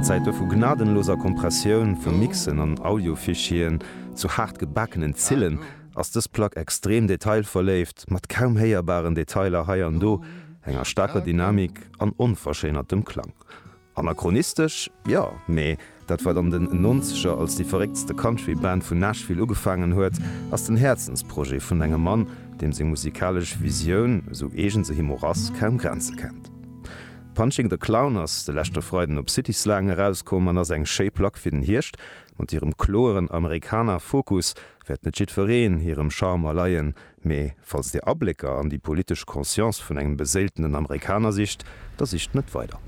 Zäite vu gnadenloser Kompressioun vu Mixen an Audio-Fichieren zu haart gebakenen Zillen, ass dës Plack extrem detailverléift, mat kaum héierbaren Detailer hei an do, enger staarker Dynamik an onverschéinertem Klang. Anachronistesch? Jo, mee dat wat an den Nonzeger als déi verrécktste Country Band vun Nashville ugefaangen huet, ass den Häerzensprojet vun engem Mann, deem seng musikalesch Visioun, esou eegen se him och ass, kaum Grenze kennt. Punching the Clown ass de leschte Freiden op City Slang erauskomm an ass eng schéi Plack fir den Hierscht. Mat hirem kloeren Americana-Fokus wäert net jiddwereen hirem Charme erleien, Mee falls Dir Ablécker an déi politesch Conscience vun engem beséiltenen Amerikaner sicht, da sicht net weider.